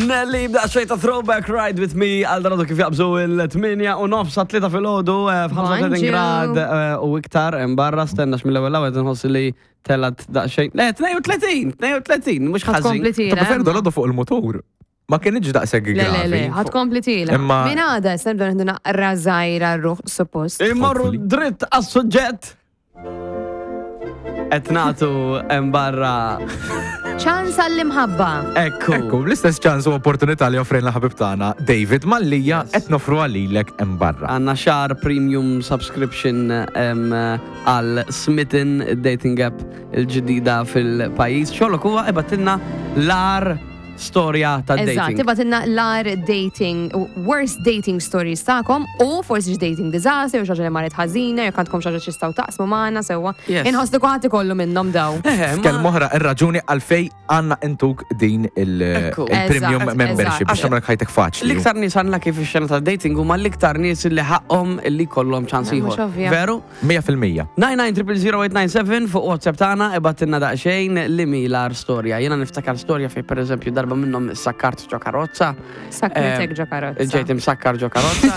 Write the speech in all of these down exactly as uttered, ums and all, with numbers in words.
Nelly bda xejn ta' throwback, "Ride With Me", għal dan kif jaqbżu il-tmienja u nofs sa tlieta filgħodu, f'ħamsa u tletin Bonġu. grad eh, u iktar barra. Stenna, mill-ewwel ewwel nħoss li telgħet daqsxejn. Le, tnejn u tletin, tnejn u tletin, mhux ħażin. Ħa tkompli Ta' tiela. prefer dolodu fuq il-motur. Ma kienx daqshekk Le, le, le, gravi. ħa tkompli tiela. Imma- Min għada, se nibdew nieħdu naqra żgħira r-ruħ, suppost. Immorru Hopefully. dritt għas-suġġett. Qed nagħtu hemm barra ċans għall-imħabba. Ekku. Ekku, l-istess ċans u opportunità li offrejna ħabib tagħna David Mallia qed nofru għalilek hemm barra. Għandna xahar premium subscription em, għal Smitten, dating app il-ġdida fil-pajjiż. Xogħlok huwa ibgħatilna l-agħar storja ta' Eżatt, dating. Ibgħatilna l-agħar dating, worst dating stories tagħkom u forsi dating disaster, u xi ħaġa li marret ħażina, jekk għandkom xi ħaġa x'tistgħu taqsmu magħna sewwa. Yes. Inħoss li kulħadd ikollu minnhom daw. Eh, ma- F'kelma oħra, ir-raġuni għalfej għandna intuk din il- Ekku. il-premium Eżatt, membership eżatt. biex tagħmel ħajtek faċli. L-iktar nies għandna kif ix-xena ta' dating huma l-iktar nies li ħaqhom li kollhom ċans Mhux ieħor. ovvja. Veru? mija fil-mija. nine nine zero zero zero eight nine seven fuq WhatsApp tagħna, ibgħatilna daqsxejn li mi l-agħar storja. Jiena niftakar storja fej, pereżempju, darba minnhom sakkart ġo karozza. Sakkritek ġo karozza. Ġejt imsakkar ġo karozza.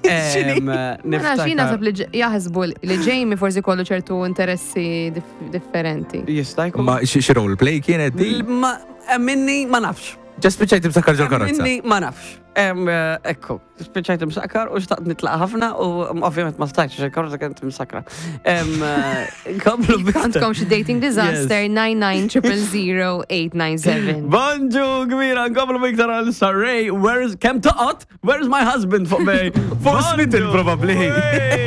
Em, Ma nafx, jien naħseb li ġ- jaħsbu li Jamie forsi kollu ċertu interessi dif- differenti. Jista' jkun. Ma xi xi role play kienet di? Ma minni ma nafx. Ġa spiċċajt imsakkar ġol karozza. Minni ma nafx. Em, eh, Ekku, spiċċajt imsakkar u xtaqt nitlaq ħafna u mm, ovvjament ma stajtx għax il-karozza kienet imsakra. Em, eh, Komplu Għandkom xi dating disaster, nine nine zero zero zero eight nine seven. Bonġu kbira, nkomplu biktar għal Sarray, where's, kemm toqgħod? "Where's my husband" fuq bej. Fuq Smitten, probably. Wey.